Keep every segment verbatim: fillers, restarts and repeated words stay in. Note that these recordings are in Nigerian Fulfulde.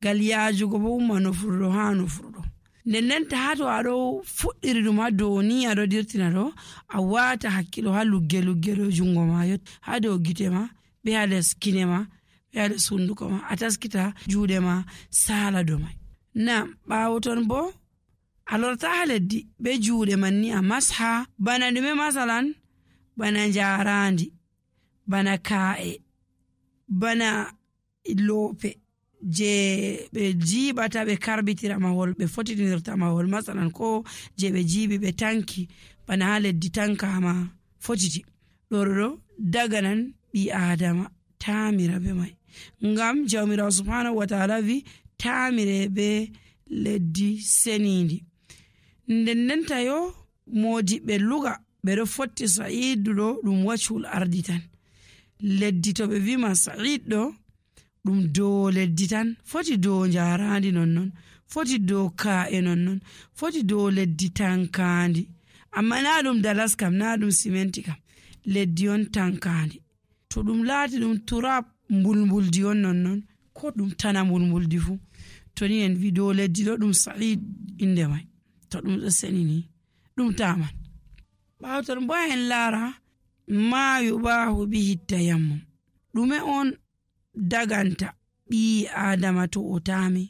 ngal yaajugo bo umma nofruɗo haa nofruɗo. nden ndenta haa to aɗo fuɗɗiri ɗum haa dow ni aɗo dirtina ɗo, a waata hakkilo haa lugge lugge ɗo jungo ma yot haa dow gite ma be haa les kine ma be haa les hunduko ma, a taskita juuɗe ma saala dow mai. na ɓaawo ton bo a lorta haa leddi be juuɗe man ni a masha bana ɗume masalan bana njaarandi, bana kaa'e, bana loope je ɓe jiiɓata ɓe karbitira mahol ɓe fotitinirta mahol, masalan ko je ɓe jiiɓi ɓe tanki bana haa leddi tankama fotiti ɗoɗo daga nan ɓi adama taamira be mai, ngam jawmirawo subhanahu wa ta'ala vi taamire be leddi senindi. nden ndenta yo modiɓɓe luga ɓeɗo fotti sa'idu ɗo ɗum wacul ardi tan. leddi to ɓe wima sa'id ɗo ɗum dow leddi tan, foti dow njarandi nonnon, foti dow ka'e nonnon, foti dow leddi tankandi, amma na ɗum dalas kam, na ɗum simenti kam, leddi on tankandi. to ɗum laati ɗum turab mbulmbuldi on nonnon, ko ɗum tana mbulmbuldi fu, to ni en wi dow leddi ɗo ɗum sa'id inde mai, to ɗum ɗo senini ɗum taman. ɓaawo ton bo en laara ma yubahu bihi tayammum, ɗume on daganta ɓii adama to o taami.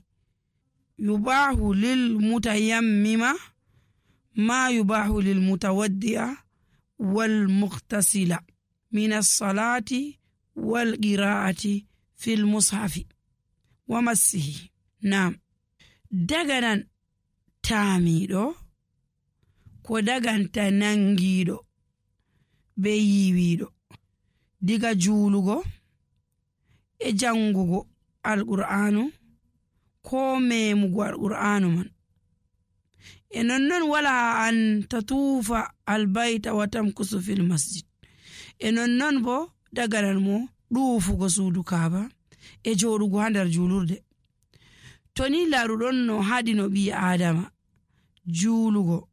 yubahu lil mutayammima ma yubahu lil mutawaddi'a wal muqtasila min as-salati wal qira'ati fil mushafi wa massihi. Naam, daganan taamiɗo ko daganta nangiɗo be yiwiɗo diga juulugo e jangugo alqur'anu ko memugo alqur'anu man. e nonnon wala an tatuufa albayta wa tamkusu fil masjid, e nonnon bo daganan mo ɗuufugo suudu kaaba e joɗugo ha nder juulurde. to ni laruɗon no haɗino ɓi adama juulugo,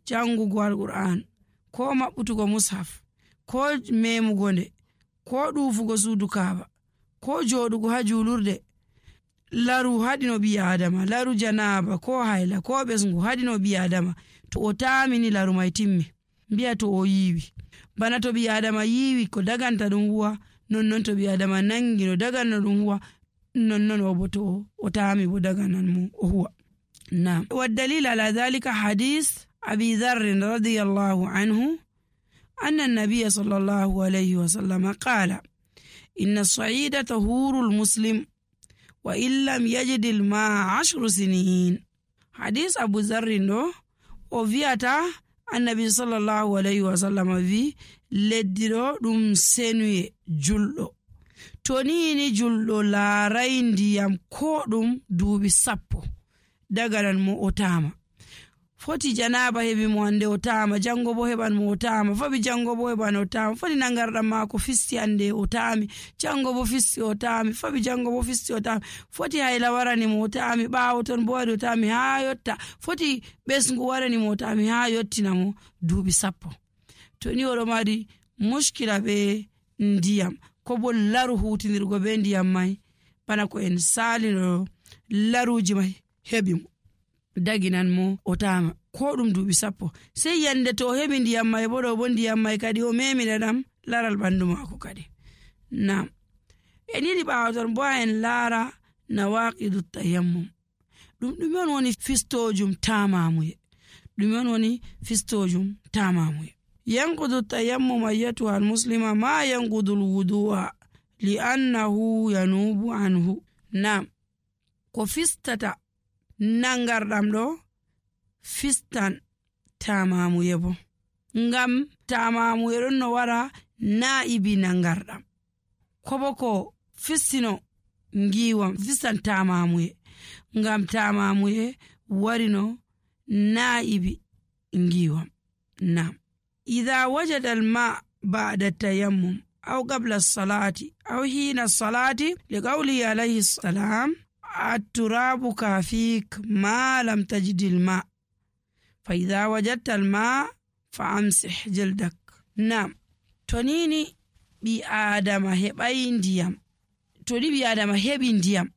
jangugo alqur'an, ko maɓɓutugo mushaf, ko memugo nde, ko ɗuufugo suudu kaaba, ko joɗugo ha juulurde, laru haɗino ɓi adama, laru janaba ko hayla ko ɓesngu haɗino ɓi adama. to o taamini laru mai timmi, mbiya to o yiwi. bana to ɓi adama yiwi ko daganta ɗum huwa, nonnon to ɓi adama nangi no dagana ɗum huwa, nonnon o bo to o taami bo daganan mo o huwa. Naam, wa dalil ala dhalika hadith abi dharr radiyallahu anhu anna an-nabiy sallallahu alayhi wa sallam qala inna as-sa'ida tahuru al-muslim wa illam yajid al-ma'a ashru sinin. hadith abu dharr do o viata annabi sallallahu alayhi wa sallam vi leddi ɗo ɗum senuye julɗo, to ni ni julɗo laarai ndiyam ko ɗum duuɓi sappo daganan mo o taama. foti janaba heɓi mo hande o taama, jango bo heɓan mo o taama, faɓi jango bo heɓan o taama, foti nangarɗam maako fisti hande o taami, jango bo fisti o taami, faɓi jango bo fisti o taami, foti hayla warani mo o taami, ɓaawo ton bo wari o taami haa yotta, foti ɓesngu warani mo o taami haa yottina mo duuɓi sappo. to ni oɗo mari muskila be ndiyam ko bo laru hutinirgo be ndiyam mai, bana ko en salino laruji mai heɓi mo daginan mo o taama ko ɗum duuɓi sappo, sei yande to o heɓi ndiyam mai bo ɗo bo ndiyam mai kadi o memina ɗam laral ɓandu maako kadi. Naam, en yiɗi ɓaawo ton bo en laara nawaqidu tayammum, ɗum ɗume on woni fistojum taamamuye, ɗume on woni fistojum taamamuye. yanqudu tayammum ayyatuha almuslima ma yanqudu alwudu'a li'annahu yanubu anhu. Naam, ko fistata nangarɗam ɗo fistan taamamuye bo, ngam taamamuye ɗon no wara na'ibi nangarɗam, ko bo ko fistino ngiwam fistan taamamuye, ngam taamamuye warino na'ibi ngiwam. Naam, idha wajada al-ma' ba'da tayammum aw qabla as-salati aw hina as-salati liqawli alayhi salam at-turabu kafik ma lam tajid al-ma' fa idha wajadta al-ma' fa amsih jildak. Naam, tonini bi adama heɓai ndiyam, to ni bi adama heɓi ndiyam